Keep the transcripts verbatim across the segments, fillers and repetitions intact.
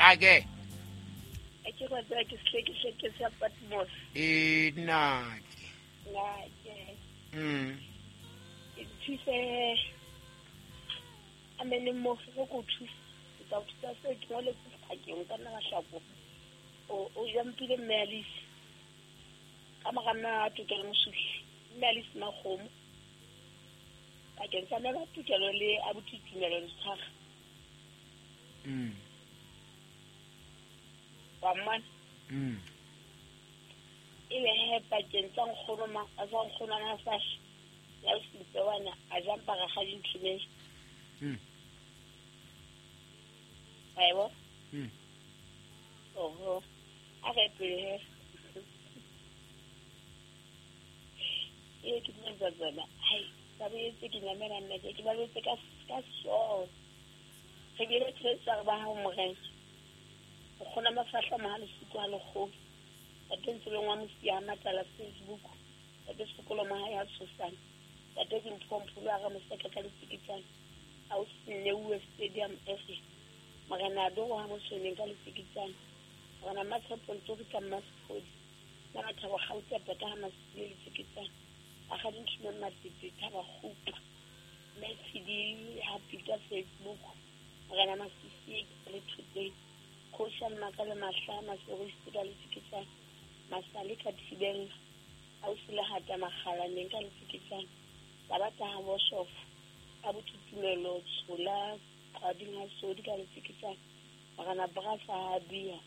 Ake. A ke go tsaya ke sehleke sa Patmos. E nna ke. Nna ke. Mm. E thuse a mene mo go go thusa. Ke tla thusa se ke ngole ke nka nna mahlako. O o jampile mme Alice. Ka mora nna tokelo mosuhi. Mme Alice Makgomo. Bakeng sa mme tokelo le abuti Tumelo le tshwara. Mm. Wa mmona? Mm. E be he pakeng tsa nkgono ma tsa nkgono a Mafahla ya Osintsewana a jampa rakgadi Nthumeng. Mm. Wa e bona? Mm. Oho. A re pele he. E ke tlo tsona. Hai, ba boetse ke nyamela nna ke ba boetse ka ka so. Re bile tshwetsa ba ha morena. O kgona Mafahla mohale siko ha lekgolo. Tate Ntseleng wa Mosia Matala Facebook. Tate Sekolo Mahae ha Tshosane. Tate Dimpho a re Moseka ka Letsikitsane. A o Sneuwe Stadium F. Morena Adoro ha Mosoneng ka Letsikitsane. Morena Matshepo Ntori ka Mmasepodi. Na Mathabo Gauta Peta ha Masile Letsikitsane. Rakgadi Nthumeng Matete Thaba Kgupa. Mme Tshidi ha Peter Facebook. Morena Masisi le Thoteng. Kgosi Makale Mahla Maserisi ka Letsikitsane. Masale ka Thibeng. Ausi le hata Makgalaneng ka Letsikitsane. Sabata ha Boshof. Abuti Tumelo Tshola Qading ha Sodi ka Letsikitsane. Morena Brasa ha Bia.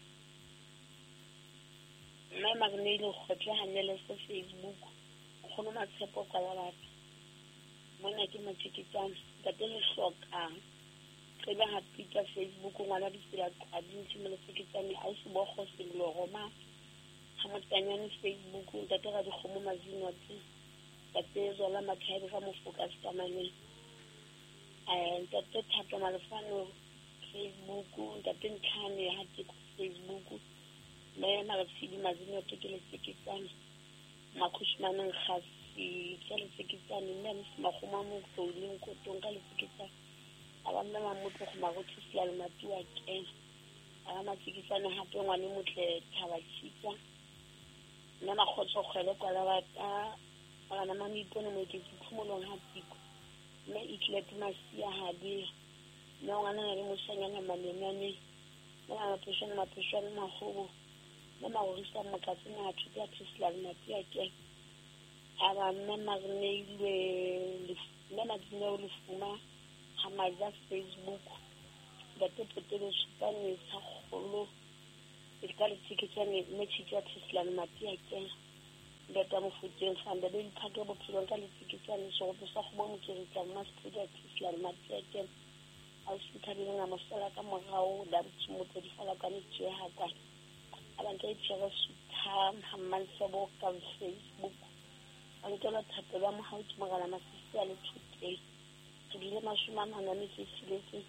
Mme Magnele Kgotle ha Nelese Facebook. Nkgono Matshepo kwa la batho. Mona ke Matsikitsane. Ntate Lehlokang. Qeba ha Peter Facebook ngwana ditsela Qading Nthumeng Letsikitsane. Ausi Bokgo Sello Roma. Ha Motanyane Facebook ntate Radikgomo Mazinotse. Ntate Zola Mathabi ka Mofoka Sekamaneng. Eh ntate Thato Malefano Facebook ntate Ntlhane ha Teko Facebook. Mme Maratshidi Mazinotse ke Letsikitsane. Makhushmane Nkgasi ke Letsikitsane. Mme Msi Makgoma Motlouleng Kotong ka Letsikitsane. A ba mme Mamotlo go Marothi Selalo Matuwa kena. A ba Matsikitsane hape ngwane motle Thaba Tshitsa. Mme Makgotso Kgwele kwa la bata. Morena Mamipone Moeketsi Phomolong ha Tiko. Mme Itlete Masia ha Bea. Mme ngwana le moshanyana Malenyane. Mme Mapheshwane Mapheshwane Mahobo. Mme Marorisa Mokatse na Thuto ya Selalo Matuwa kena. A ba mme Magneilwe mme Madineo Lefuma ha Maja Facebook. Ntate Potelo Supane sa kgolo. E ka Letsikitsane mme Tshitsa Selalo Matuwa kena. Ntate Mofokeng Fanda be diphake bophelong ka Letsikitsane seropo sa kgomo Mokeritla Mmasepodi a Selalo Matuwa kena. Ausi Thabeleng a mo sala ka morao da Motho di fala ka tjhe ha kwa. A ba nka itshwere Sutha ha Mmansebo ka Facebook. A nkela thapelo ya mohau ke Morena Masisi a le Thoteng. Re bile mashome a mane a metso e tsheletseng.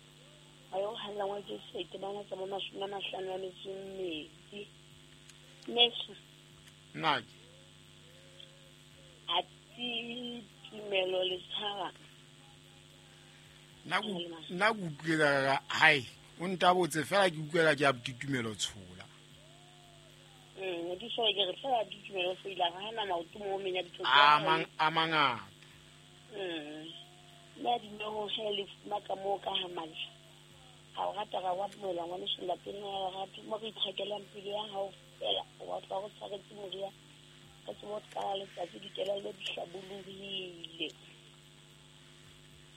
Ba yo halla ngwa Jesu a itebana tsa bo mashome a mahlano a metso e mmedi. Mmeso. Nna ke. A ti Tumelo le tshwara. Nna nna ke utlwela ka hai o ntabotse fela ke utlwela ke abuti Tumelo Tshola. Mm, ke so ke re fela abuti Tumelo Tshola ha na maoto mo menya ditho. A mang a mangata. Mm. Nna di no he le fuma ka mo ka ha manje. Ha o rata ra wa mola ngwane so lapeng ya rata mo re ithakelang pele ya hao fela wa tla go tshwaretse moria. Ka tsebo ka letsatsi dikelello di hlabollohile.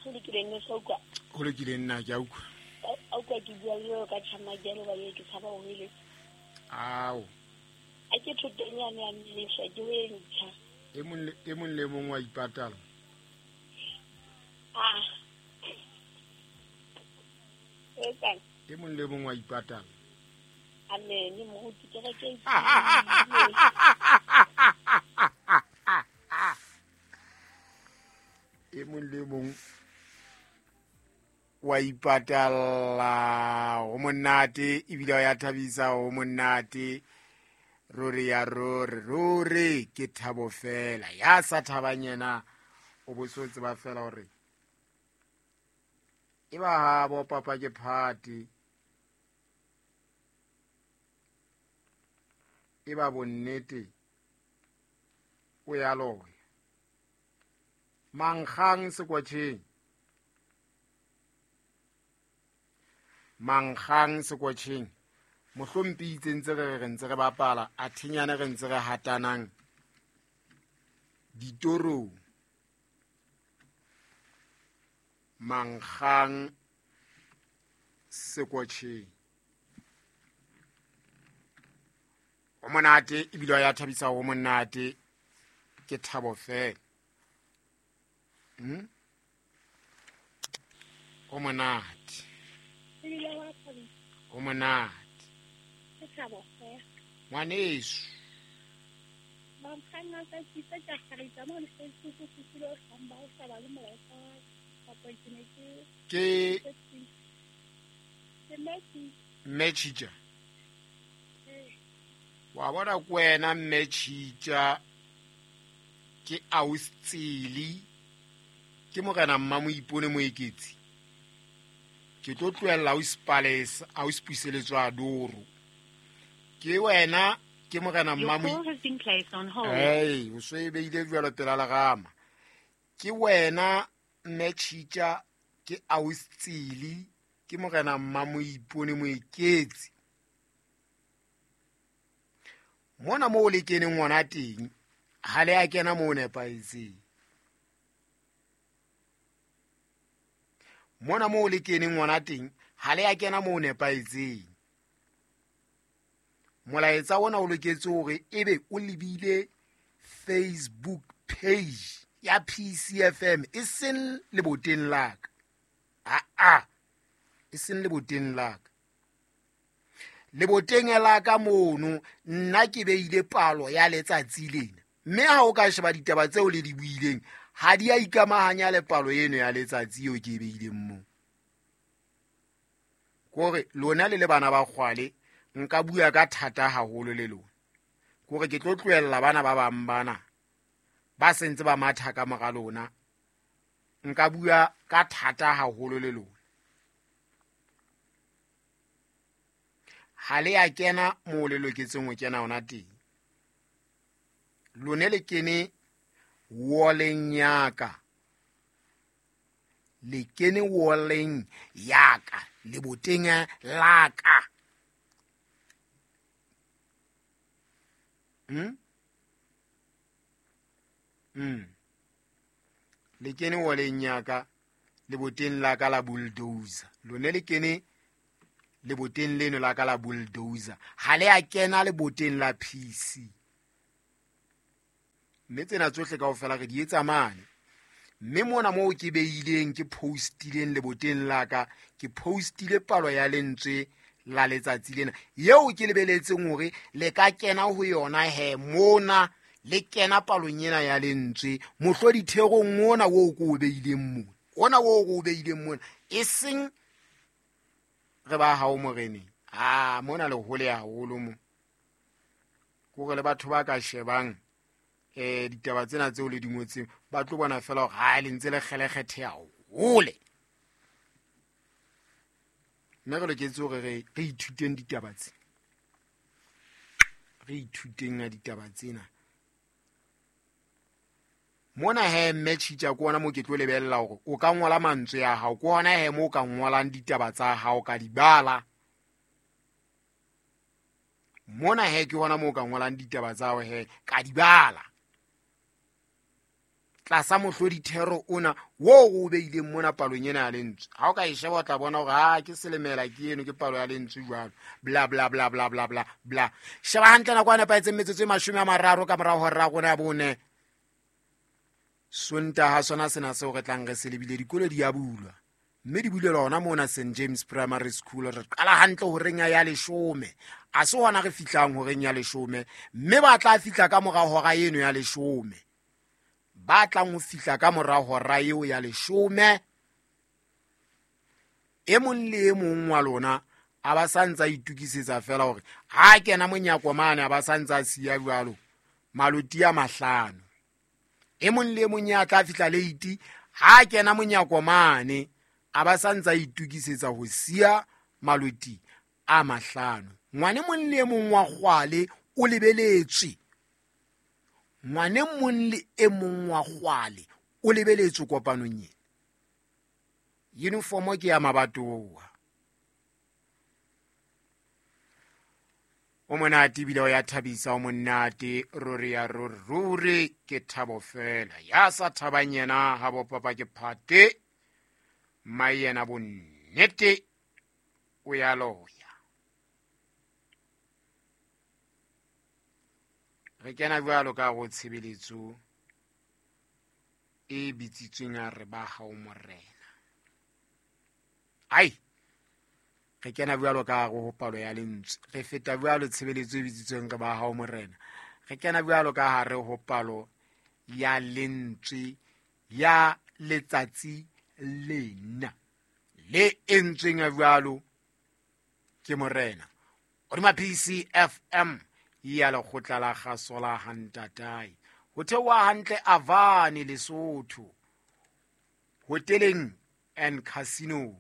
Ho lokile nne sa utlwa. Ho lokile nna ke a utlwa. A utlwa ke bua le ka tjhamakelo ba ye ke tshaba ho eletsa. Ao. A ke thoteng yane ya mmesha ke o e ntjha. E mong le e mong le mong wa ipatala. Ah. Etsang. E mong le mong wa ipatala. Amen, moruti ke re ke. E mong le mong wa ipatala ho monate ebile ya thabisa ho monate ruri ya ruri ruri ke thabo fela ya sa thabang yena o bo so tseba fela hore e ba ha bo papa ke party. E ba bonnete o ya loya. Mankgang sekwatjheng. Mankgang sekwatjheng. Mohlompi itse ntse re re ntse re bapala a thinyane re ntse re hatanang ditorong. Mankgang sekwatjheng. O monate ebile ya thabisa ho monate ke thabo fela. Hmm? O monate. O monate. Ke thabo fela. Ngwaneso. Mankgang a ka kitsa ka harita mo le Facebook ke tsile o hlamba o sa ba le molaetsa kapa ke ne ke ke ke Messi. Mmetšhitša. Wa bona ke wena Mmetšhitša ke Austsili ke morena Mmamoipone Moeketsi. Ke tlo tlohella Auspalesa Auspuseletswa Doro. Ke wena ke morena Mmamoipone. Hey, o so e beile jwalo pela lerama. Ke wena Mmetšhitša ke Austsili ke morena Mmamoipone Moeketsi. Mona mo le keneng ngwana teng ha le a kena mo nepahetseng. Mona mo le keneng ngwana teng ha le a kena mo nepahetseng. Molaetsa ona o loketse hore ebe o lebile Facebook page ya P C F M e seng leboteng la ka. A a e seng leboteng la ka. Leboteng la ka mono nna ke beile palo ya letsatsi lena. Mme ha o ka sheba ditaba tseo le di buileng ha di a ikamahanya le palo eno ya letsatsi eo ke e beileng moo. Kore lona le le bana ba kgwale nka bua ka thata haholo le lona. Kore ke tlo tlohella bana ba bang bana ba sentse ba matha ka mora lona. Nka bua ka thata haholo le lona. Ha le a kena moo le loketseng ho kena hona teng. Lone le kene walleng ya ka. Le kene walleng ya ka, leboteng la ka. Hmm? Hmm. Le kene walleng ya ka, leboteng la ka la bulldozer. Lone le kene leboteng leno la ka la bulldozer. Ha le a kena leboteng la P C. Mme tsena tsohle kaofela re di etsa mane. Mme mona moo ke beileng ke postileng leboteng la ka, ke postile palo ya lentswe la letsatsi lena eo ke lebeletseng hore le ka kena ho yona he mona le kena palong ena ya lentswe mohlodi therong ona oo ko o beileng mona. Ona oo ko o beileng mona e seng re ba hao moreneng. Ah mona le hole haholo mo. Kore le batho ba ka shebang eh ditaba tsena tseo le di ngotseng ba tlo bona fela hore ha le ntse le kgelekgethe hole. Mme re loketse hore re re ithuteng ditaba tse. Re ithuteng a ditaba tsena. Mona he Mmetšhitša ke ona mo ke tlo lebella hore o ka ngola mantswe a hao, ke hona he mo o ka ngolang ditaba tsa hao ka di bala. Mona he ke hona mo o ka ngolang ditaba tsa hao he ka di bala. Tlasa mohlodi thero ona wo o beileng mona palong ena ya lentswe. Ha o ka e sheba o tla bona hore ha ke selemela ke eno ke palo ya lentswe jwalo. Bla bla bla bla bla bla bla. Sheba hantle nako e nepahetseng metsotso e mashome a mararo ka morao hora ya rona ya bone. Sontaha sona sena seo re tlang re se lebile dikolo di a bulwa. Mme di bulelwa hona mona Saint James Primary School. Re qala hantle horeng ya leshome. A se hona re fihlang horeng ya leshome. Mme ba tla fihla ka mora hora eno ya leshome. Ba tlang ho fihla ka mora hora eo ya leshome. E mong le e mong wa lona a ba sa ntsa itukisetsa fela hore ha kena monyako mane a ba sa ntsa siya jwalo maloti a mahlano. E mong le e mong ya tla fihla late ha kena monyako mane a ba sa ntsa itukisetsa ho siya maloti a mahlano. Ngwane mong le mong wa kgwale o lebeletswe. Ngwane mong le e mong wa kgwale o lebeletswe kopanong ena. Uniform ke ya mabatowa. O monate ebile o ya thabisa, o monate ruri ya ruri, ruri ke thabo fela. Ya sa thabang yena ha bo papa ke phate, mma yena bonnete o ya loya. Re kena jwalo ka go tshebeletso e bitsitsweng ya re ba hao morena. Ai, re kena jwalo ka go palo ya lentswe, re feta jwalo tshebeletso e bitsitsweng re ba hao morena. Re kena jwalo ka hare ho palo ya lentswe ya letsatsi lena le entsweng jwalo ke morena. Hodima P C F M ya lekgotla la kgaso la Hantatai. Ho theoha hantle Avane Lesotho, hoteleng and casino.